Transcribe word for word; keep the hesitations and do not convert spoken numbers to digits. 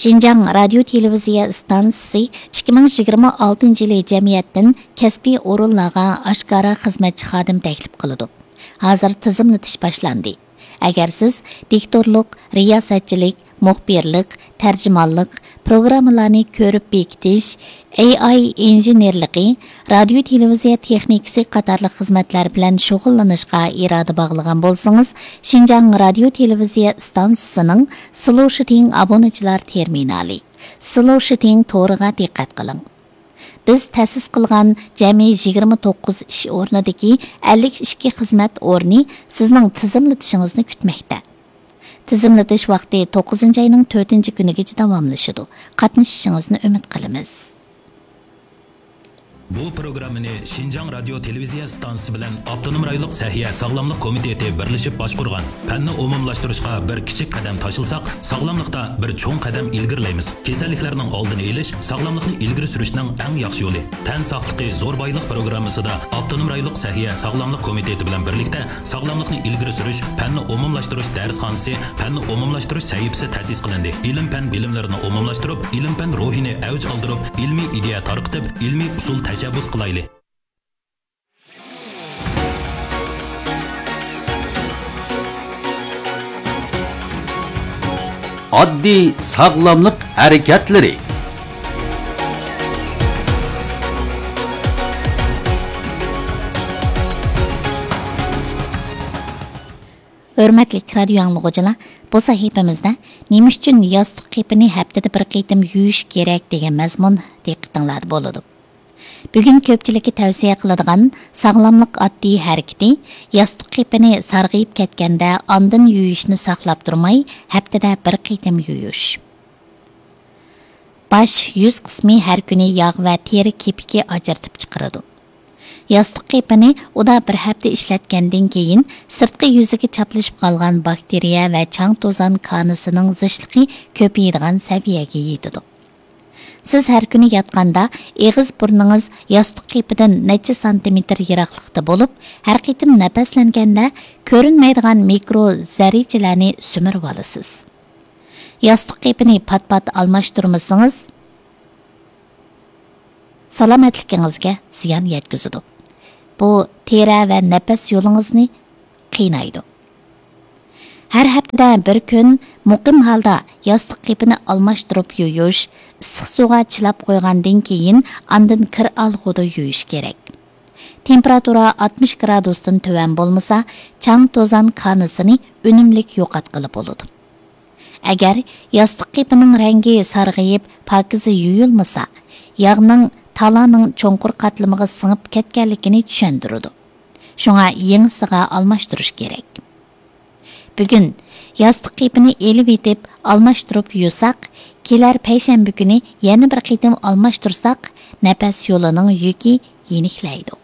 شىنجاڭ رادىيو تېلېۋىزىيە ئىستانسىسى ئىككى مىڭ يىگىرمە ئالتىنچى يىلى جەمئىيەتتىن كەسپىي ئورۇنلارغا ئاشكارا خىزمەتچى خادىم تەكلىپ قىلىدۇ. ھازىر تىزىملىتىش باشلاندى. ئەگەر سىز دىكتورلۇق، رىياسەتچىلىك، مۇخبىرلىق، تەرجىمانلىق، پروگراممىلارنى كۆرۈپ بېكىتىش، ئەي ئاي ئىنژېنېرلىقى، رادىيو تېلېۋىزىيە تېخنىكىسى قاتارلىق خىزمەتلەر بىلەن شۇغۇللىنىشقا ئىرادە باغلىغان بولسىڭىز، شىنجاڭ رادىيو تېلېۋىزىيە ئىستانسىسىنىڭ سلوشىتىڭ ئابۇنىچىلار تېرمىنالى، سلوشىتىڭ تورىغا دىققەت قىلىڭ. بىز تەسىس قىلغان جەمئىي يىگىرمە توققۇز ئىش ئورنىدىكى ئەللىك ئىككى خىزمەت ئورنى سىزنىڭ تىزىملىتىشىڭىزنى كۈتمەكتە. تىزىملىتىش ۋاقتى توققۇزىنچى ئاينىڭ تۆتىنچى كۈنىگىچە داۋاملىشىدۇ. قاتنىشىشىڭىزنى ئۈمىد قىلىمىز. بۇ پروگراممىنى شىنجاڭ رادىيو تېلېۋىزىيە ئىستانسىسى بىلەن ئاپتونوم رايونلۇق سەھىيە ساغلاملىق كومىتېتى بىرلىشىپ باشقۇرغان. پەننى ئومۇملاشتۇرۇشقا بىر كىچىك قەدەم تاشلىساق، ساغلاملىقتا بىر چوڭ قەدەم ئىلگىرىلەيمىز. كېسەللىكلەرنىڭ ئالدىنى ئېلىش، ساغلاملىقنى ئىلگىرى سۈرۈشنىڭ ئەڭ ياخشى يولى. تەن ساقلىقى زور بايلىق پروگراممىسىدا ئاپتونوم رايونلۇق سەھىيە ساغلاملىق كومىتېتى بىلەن بىرلىكتە ساغلاملىقنى ئىلگىرى سۈرۈش، پەننى ئومۇملاشتۇرۇش دەرسخانىسى، پەننى ئومۇملاشتۇرۇش سەھىپىسى تەسىس قىلىندى. ئىلىم-پەن بىلىملىرىنى ئومۇملاشتۇرۇپ، ئىلىم-پەن روھىنى ئەۋج ئالدۇرۇپ، ئىلمىي ئىدىيە تارقىتىپ، ئىلمىي ئۇسۇل تەشەببۇس قىلايلى. ئاددىي ساغلاملىق ھەرىكەتلىرى. ھۆرمەتلىك رادىيو ئاڭلىغۇچىلار، بۇ سەھىپىمىزدە نېمە ئۈچۈن ياستۇق قېپىنى ھەپتىدە بىر قېتىم يۇيۇش كېرەك دېگەن مەزمۇن دىققىتىڭلاردا بولىدۇ. بۈگۈن كۆپچىلىككە تەۋسىيە قىلىدىغان ساغلاملىق ئاددىي ھەرىكىتى، ياستۇق قېپىنى سارغىيىپ كەتكەندە ئاندىن يۇيۇشنى ساقلاپ تۇرماي، ھەپتىدە بىر قېتىم يۇيۇش. باش، يۈز قىسمى ھەر كۈنى ياغ ۋە تېرە كېپىكى ئاجرىتىپ چىقىرىدۇ. ياستۇق قېپىنى ئۇدا بىر ھەپتە ئىشلەتكەندىن كېيىن، سىرتقى يۈزىگە چاپلىشىپ قالغان باكتېرىيە ۋە چاڭ توزان كانىسىنىڭ زىچلىقى كۆپىيىدىغان سەۋىيەگە يېتىدۇ. سىز ھەر كۈنى ياتقاندا ئېغىز بۇرنىڭىز ياستۇق قېپىدىن نەچچە سانتىمېتىر يىراقلىقتا بولۇپ، ھەر قېتىم نەپەسلەنگەندە كۆرۈنمەيدىغان مىكرو زەررىچىلەرنى سۈمۈرۈۋالىسىز. ياستۇق قېپىنى پات-پات ئالماشتۇرمىسىڭىز، سالامەتلىكىڭىزگە زىيان يەتكۈزىدۇ. بۇ تېرە ۋە نەپەس يولىڭىزنى قىينايدۇ. ھەر ھەپتىدە بىر كۈن مۇقىم ھالدا ياستۇق قېپىنى ئالماشتۇرۇپ يۇيۇش، ئىسسىق سۇغا چىلاپ قويغاندىن كېيىن ئاندىن كىر ئالغۇدا يۇيۇش كېرەك. تېمپېراتۇرا ئاتمىش گرادۇستىن تۆۋەن بولمىسا، چاڭ توزان كانىسىنى ئۈنۈملۈك يوقاتقىلى بولىدۇ. ئەگەر ياستۇق قېپىنىڭ رەڭگى سارغىيىپ، پاكىز يۇيۇلمىسا، ياغنىڭ تالانىڭ چوڭقۇر قاتلىمىغا سىڭىپ كەتكەنلىكىنى چۈشەندۈرىدۇ. شۇڭا يېڭىسىغا ئالماشتۇرۇش كېرەك. بۈگۈن ياستۇق قېپىنى ئېلىۋېتىپ ئالماشتۇرۇپ يۇساق، كېلەر پەيشەنبە كۈنى يەنە بىر قېتىم ئالماشتۇرساق، نەپەس يولىنىڭ يۈكى يېنىكلەيدۇ.